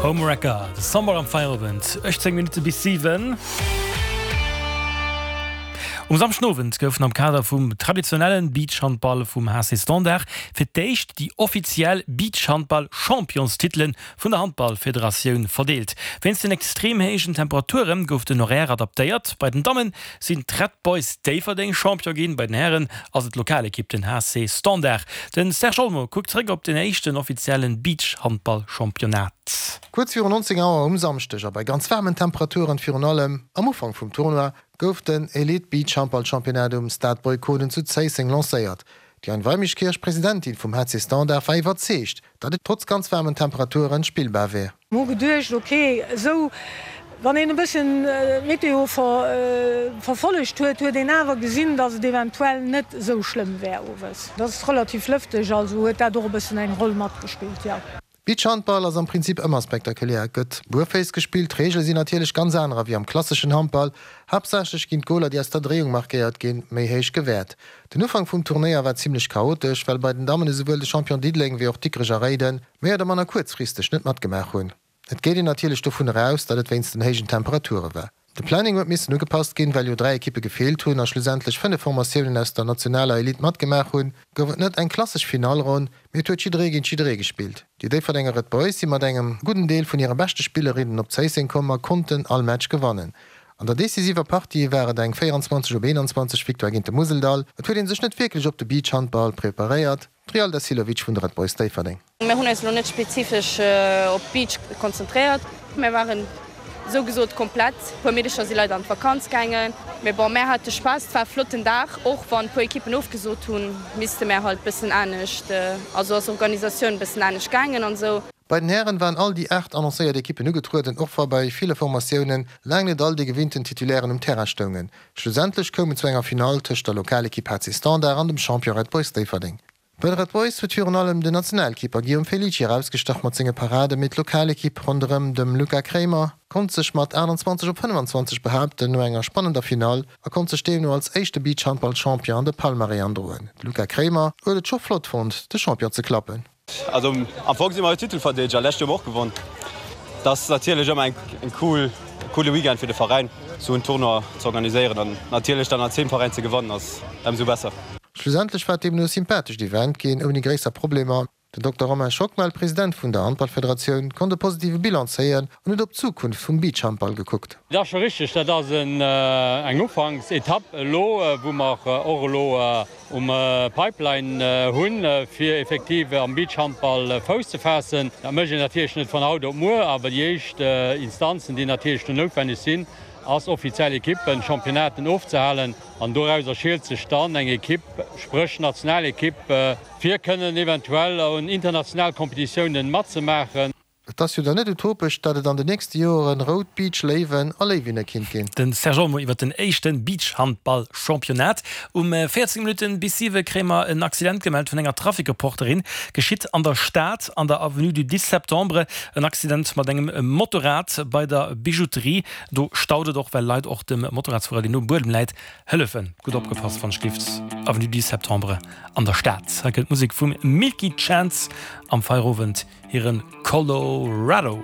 Homewrecker, de Sommer am Feierowend, 18 Minutte bis 7. Um Samschdenowend goufen am Kader vum traditionellen Beachhandball vum HC Standard fir d'éischt déi offiziell Beachhandball-Championstitelen vun der Handballfederatioun verdeelt. Wéinst den extrem héijen Temperature gouf den Horaire adaptéiert. Bei den Damme sinn d'Red Boys Déifferdeng Champion ginn, bei den Hären ass et d'Lokalekipp, den HC Standard. De Serge Olmo kuckt zeréck op den éischten offiziellen Beachhandball-Championnat. Kuerz viru 19 Auer um Samschdeg a bei ganz waarmen Temperaturen, virun allem am Ufank vum Tournoi, gouf den Elite Beachhandball Championnat um Stade Boy Konen zu Zéisseng lancéiert. D'Diane Weimeschkirch, Presidentin vum HC Standard, war iwwerzeegt, datt et trotz ganz waarmen Temperaturen spillbar wär. Mer hu geduecht, ok, esou, wann een e bëssen d'Meteo verfollegt huet, huet een awer gesinn, datt et eventuell net esou schlëmm wär owes. Et ass relativ lëfteg, also huet dat och e bëssen eng Roll matgespillt, jo. Beachhandball ass am Prinzip ëmmer spektakulär. Et gëtt buerféiss gespillt, d'Reegele sinn natierlech ganz anerer wéi am klasseschen Handball. Haaptsächlech ginn d'Goler, déi aus der Dréiung markéiert ginn, méi héich gewäert. Den Ufank vum Turnéier war zimmlech chaotesch, well bei den Dammen esouwuel de Champion Diddeleng wéi och Dikrech a Réiden méi oder manner kuerzfristeg net matgemaach hunn. Et geet een natierlech dovunner aus, datt et wéinst den héijen Temperature war. De Planning huet missen ugepasst ginn, well jo 3 Ekippe gefeelt hunn a schlussendlech 5 Formatiounen aus der nationaler Elite matgemaach hunn, gouf et net eng klassesch Finallronn, mee et huet jidderee géint jidderee gespillt. Déi Déifferdenger Red Boys si mat engem gudden Deel vun hire beschte Spillerinnen op Zéisseng komm a konnten all Match gewannen. An der decisiver Partie war et eng 24 op 21 Victoire géint de Museldall. Et huet ee sech net wierklech op de Beachhandball preparéiert, d'Rialda Silovic vun de Red Boys Déifferdeng. Mir hunn eis elo net spezifesch op Beach konzentréiert. Mir waren esou gesot komplett. E puer Meedecher si leider an d'Vakanz gaangen. Mee bon, mär hate Spaass, et war e flotten Dag. Och wann e puer Ekippen ofgesot hunn, misste mär halt bëssen anescht, also ass Organisatioun bëssen anescht gaangen an esou. Bei den Hären waren all déi 8 annoncéiert Ekippen ugetrueden, och wa bei ville Formatiounen laang net all déi gewinnten Titulairen um Terrain stoungen. Schlussendlech koum et zu enger Finall tëscht der Lokalekipp HC Standard an dem Champion Red Boys Déifferdeng. Bei de Red Boys huet virun allem den Nationalkeeper Guillaume Felici erausgestach mat senge Paraden, mee d'Lokalekipp ronderëm dem Luca Kremer konnt sech mat 28 op 25 behaapten no enger spannender Finall a konnt sech deemno als éischte Beachhandball-Champion an de Palmarès androen. De Luca Kremer huet et scho flott fonnt, de Champion ze klappen. Also am Fong si mer jo Titelverdeedeger, lescht Joer hu mer och gewonn. Dat ass natierlech ëmmer eng cool, coole Weekend fir de Veräin, sou en Tournoi ze organiséieren an natierlech dann als Heemveräin ze gewannen ass ëmsou besser. Schlussendlech war et deemno e sympathescht Event ginn, ouni gréisser Problemer. Den Dokter Romain Schockmel, President vun der Handballfederatioun, konnt e positive Bilan zéien an huet op d'Zukunft vum Beachhandball gekuckt. Dat ass scho richteg, dat ass eng Ufanksetapp elo, wou mer och elo um Pipeline hunn, fir effektiv am Beachhandball Fouss ze faassen. Dat mécht een natierlech net vun haut op muer, awer déi éischt Instanzen, déi natierlech do noutwenneg sinn, ass offiziell Ekippen, Championnaten ofzehalen. An dorauser schielt sech dann eng Ekipp, spréch Nationalekipp, fir kënnen eventuell un international Kompetitiounen matzemaachen. Et ass jo dann net utopesch, datt et an de nächste Joeren rout Beach-Léiwen a Léiwinne kinnt ginn. De Serge Olmo iwwer den éischte Beachhandball-Championnat. Um 14 Minutten bis 7 kréie mer en Accident gemellt vun enger Trafic-Reporterin. Geschitt an der Stad an der Avenue du 10 Septembre. En Accident mat engem Motorrad bei der Bijouterie. Do staut et och, well Leit och dem Motorradsfuerer, deen um Buedem läit, hëllefen. Gutt opgepasst wann schlift, Avenue du 10 Septembre an der Stad. Hei kënnt d'Musek vum Milky Chance am Feierowend, hiren Colorado.